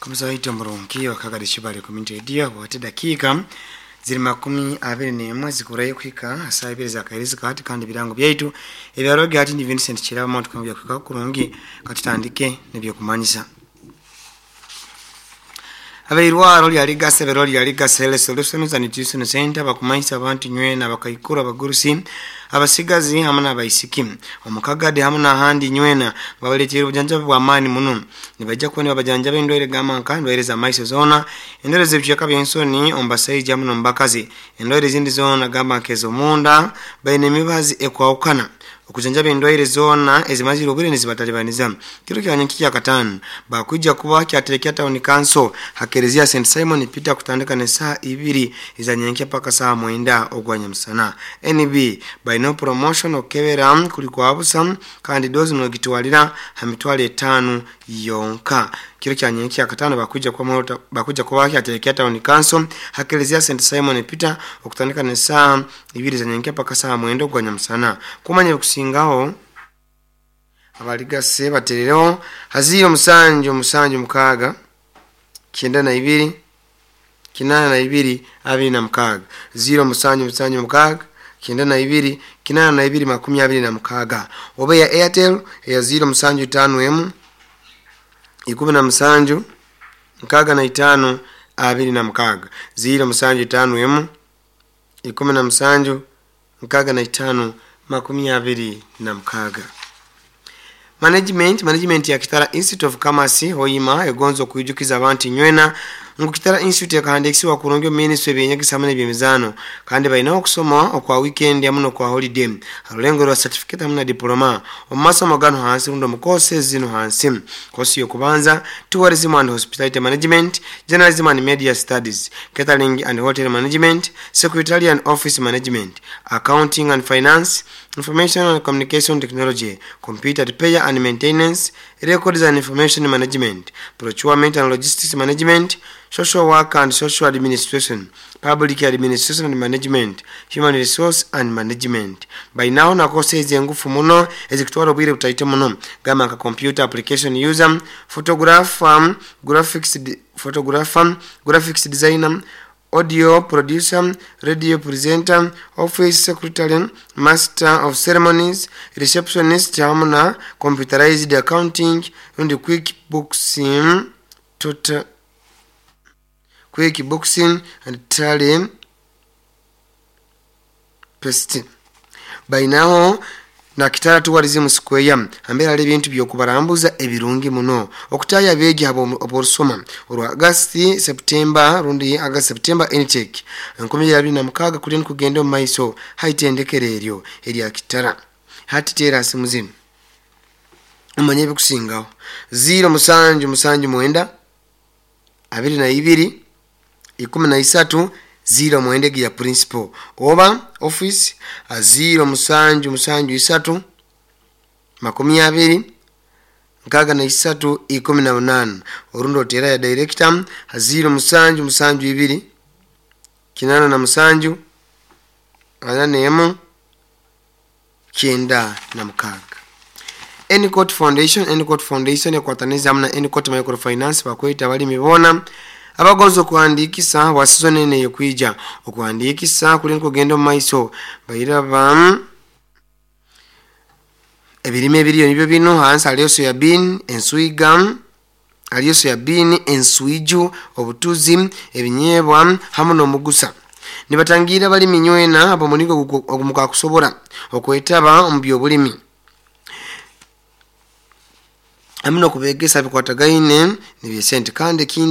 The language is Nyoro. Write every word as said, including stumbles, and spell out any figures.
Kumizaito murungi wakagari bali community radio wate dakika ziri makumi abiri n'emwe zikurayo kuhika saa ibiri za kairizi kati kandi birango byaitu ebyaroge hati ni Vincent Kiraba muntu kwambya kuhika kurungi katutandike nebyokumanyisa. Abairwaro lya Ligase bero lya Ligase Health Solutions and Nutrition Center bakumanyisa abantu nywena bakaikura abagurusi abasigazi hamwe n'abaisiki omukagade hamwe n'ahandi nywena babaletera obujanjabi bw'amaani muno. Nibajja kuba nibabajanjaba endwaire g'amanka, endwaire z'amaiso zoona, endwaire z'ebicweka by'ensoni omu basaija hamwe n'omu bakazi, endwaire ezindi zoona gamba nk'ez'omunda. Baine emibazi ekwahukana okujanjaba endwaire zoona ezimazire obwire nizibatalibaniza. Kiro kya nyenki kya katano bakwija kuba kyaterekya town council hakerezia Saint Simon Peter kutandika ne saa ibiri eza nyenki paka saa mwenda ogwa nyamusana. N B baina promotion okebera kuli kwa busa kandi dozi nogitwalira ha mitwalo etaano yonka. Kiro kya nyenki kya katano bakwija kuba bakwija kuba kyaterekya town council hakerezia Saint Simon Peter okutandika ne saa ibiri za nyenki paka saa mwenda ogwa nyamusana. Kumanya kusingaho abaligase baterereho haziyo musanju musanju mukaaga kyenda na ibiri kinana na ibiri abiri na mukaaga, ziro musanju musanju mukaaga kyenda na ibiri kinana na ibiri makumi abiri na mukaaga, oba eya Airtel eya ziro musanju tano emu ikumi na musanju mukaaga na itaano abiri na mukaaga, ziro musanju tano emu ikumi na musanju mukaaga na itaano makumi abiri na mukaaga. Management management ya Kitara Institute of Commerce Hoima egonza okuijukiza abantu nywena ngu Kitara Institute ekahandikisiwa kurungi ministry ebyenyegesa hamwe n'ebyemizaano kandi balina okusoma okwa weekend hamwe n'okwa holiday harulengo rwa certificate hamwe na diploma omu masomo gano hansi rundi omu courses zino hansi. Kosi y'okubanza: tourism and hospitality management, journalism and media studies, catering and hotel management, secretarial and office management, accounting and finance, information and communication technology, computer repair and maintenance, records and information management, procurement and logistics management, social work and social administration, public administration and management, human resource and management. Bainaho na courses engufu muno ezikutwara obwire butaito muno gamba nka computer application user, photographer, graphics photographer, graphics designer, audio producer, radio presenter, office secretary, master of ceremonies, receptionist hamwe na computerized accounting and quick books total quick boxing and tally pest. Bainaho na Kitara Tourism Square ambera ali ebintu byokubarambuza ebirungi muno okutaya abeegi abo oborusoma olwa August September rundi August September intake enkumi abiri na mukaaga kuli kugenda omu maiso haitendekero eryo erya Kitara. Hati teera simu zino omanye ebikusingaho: ziro musanju musanju mwenda abiri na ibiri ikumi na isatu ziro mwenda ya principal, oba office ziro musanju musanju isatu makumi abiri nkaaga na isatu ikumi na munana, orundi otera ya director ziro musanju musanju ibiri kinana na musanju ana nemu kyenda na mukaaga. Enicot Foundation Enicot Foundation ekwataniza hamwe na Enicot Microfinance bakweta abalimi boona abagonza okuhandikisa bwa season eno eyokwija. Okuhandikisa kuli nkugenda omu maiso. Bairaba ebirime ebiriyo nibyo bino hansi: haliyo soyabean, enswiga, haliyo soyabean, enswiju, obutuzi, ebinyeebwa hamwe n'omugusa. Nibatangira abalimi nywena ab'omulingo ogumukakusobora okwetaba omu byobulimi hamwe n'okubegesa bikwatagaine nebyesente kandi ekindi.